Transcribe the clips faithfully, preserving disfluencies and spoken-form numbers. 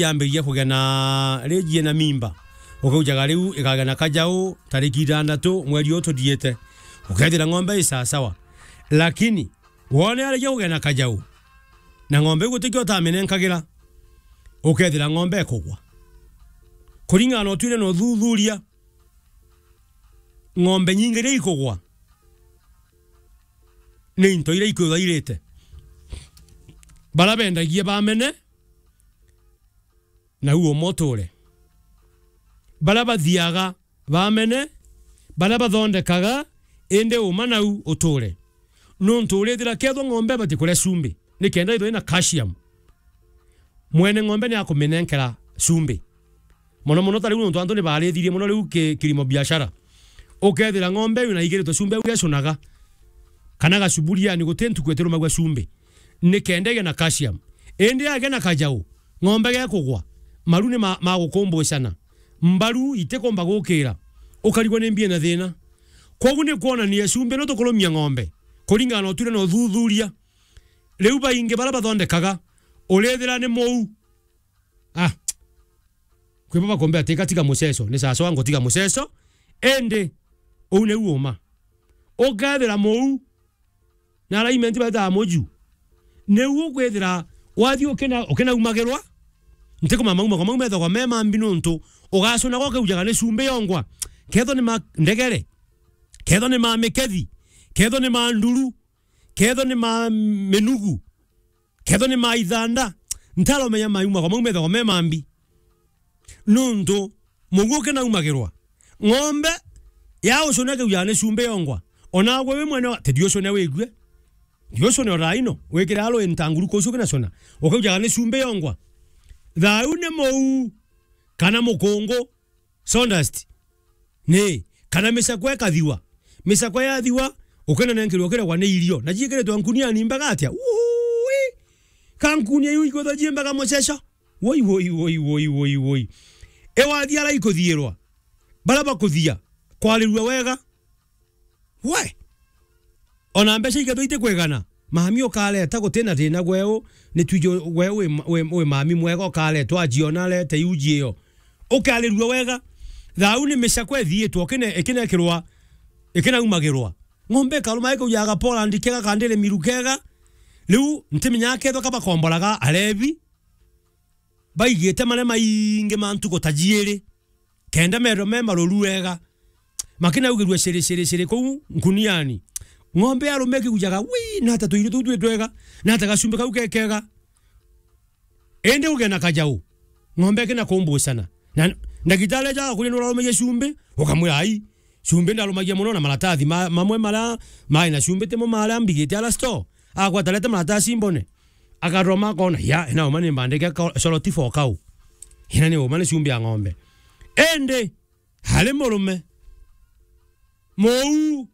yambiriria kugena, rijie na mimba. Ukaujaga riu igagena kajau tariki itandatu mweri uyu tuthiite. Ukethira ng'ombe i sawasawa. Lakini, wone arikia kugena kajau, na ng'ombe iu gutikio utamienenkagira, ukethira ng'ombe ikugwa. Kuringana na utwire na uthuthuria, ng'ombe nyingi iria ikugwa, ni into iria ikwithwa irite. Baria bendagia bamene, nau uuma uture. Baria bathiaga bamene, baria bathondekaga, indi uuma nau uture. Nuntu urithira kethwa ng'ombe ibati kuria cumbi, nikenda ithwe ina calcium, mwene ng'ombe ni akuminenkera cumbi. Mono mono ta riu nontu antu ni barithirie mono riu ki-, kilimo biashara. Ukethira ng'ombe iu na igiritwe cumbi au gecunaga, kana gacuburia, yani guti ntuku itirumagua cumbi, nikenda igie na calcium. Indi yagia na kajau, ng'ombe gekugwa, maru ni ma-, magukumbucana, mbaru itikumba gukira, ukarigwa ni mbie na thina. Kwogu ni kwonania cumbi no tukurumia ng'ombe, kuringana na utwire na uthuthuria. Riu baingi baria bathondekaga, urithira ni muu. Ah. Kwi baba kombe ati, "Gatiga muceco, ni sawa sawa, ngutiga muceco, indi uu niu uuma." Ukethira muu, na alignment baitaga muju, niu ukwithira wathi ukina-, ukinaumagirwa, ntikumama mauma kwa mau methagwa me mambi nuntu ugacuna gwa ukaujaga ni cumbi yongwa, kethwa ni ma ndegere, kethwa ni ma mikethi, kethwa ni ma nduru, kethwa ni ma minugu, kethwa ni ma ithanda, ntaromenya mauma kwa mau methagwa me mambi. Nuntu mugu ukinaumagirwa, ng'ombe ya ucune ikaujaga ni cumbi yongwa. Ona gwe wi mwene wa, ti ndiucune wigue. Ndiucune o thaa ino, wikire alo intanguruko ucio ukinacuna. Ukaujaga ni cumbi yongwa. Thau ni muu, kana mukungu, sawdust. Ni, kana micakwe ikathiwa. Micakwe yathiwa, ukinenenkerwa ukiregwa ni irio. Na ciikiritwe nkuniani mbega atia? Uui! Ka nkunia iu ikwithwa ji mbega muceco? Woi, woi, woi, woi, woi, woi. Ewathi ara ikuthiirwa, baria bakuthia, kwarirua wega. We! Ona mbeca ikethwa itikwigana, mami ukareta, gutina thina gweu, ni twiji gweu wi, wi, wi mami mwega ukaretwa ajiona arete iuji iyo. Ukarirua wega. Thau ni micakwe ithiitwe, ikine-, ikinekirwa, ikinaumagirwa. Ng'ombe ikaruma ikaujaga Poland kega, kandire miru kega. Riu ntimenyaga kethwa ka bakomboraga arebi, baigite maria maingi ma ntuku ta jiiri, kenda meethirwa me maruru wega. Makinaugirua ciri, ciri, ciri kuu nkuniani. Ng'ombe ya rume ikigujaga, "Wii, nata tuirio tuu twi twega? Nata gacumbi kau ke kega?" Indi uge na kajau, ng'ombe ikina kumbucana. Na ndagitari aja agakuria nurarumagia cumbi, ukamwira, "Ai, cumbi ndarumagia mono na maratathi ma-, mamwe maria mai na cumbi timo maria mbigite ara store." Akwata arete maratathi mbone. Akaroma akona, "Ya, ina uma ni mbandike ka-, shoroti for cow. Ina ni uma ni cumbi ya ng'ombe." Indi, hari murume, muu,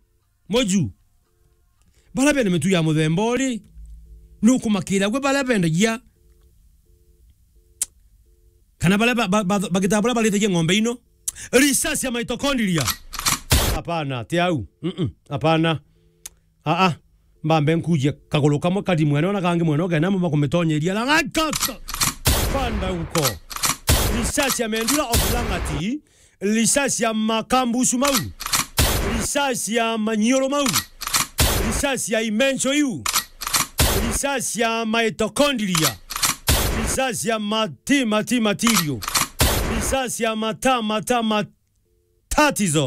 muju, baria bena mitu ya muthemba uri, nukumakira gwe baria bendagia, kana baria ba-, ba-, ba-, bagitaga baria baritagia ng'ombe ino. Research ya mitochondria. Hapana, ti au. Mm-mm, hapana. Aa, mbambe nkujie kaguru kamwe kari mwene ona kangi mwene ugena mama kumitonyeria la ngakaka. Panda huko. Research ya mendula of Lang'ati, research ya makambusu mau, research ya manyioro mau, research ya imencho iu, research ya mitochondria, research ya mati, mati, material, research ya mata, mata, matatizo.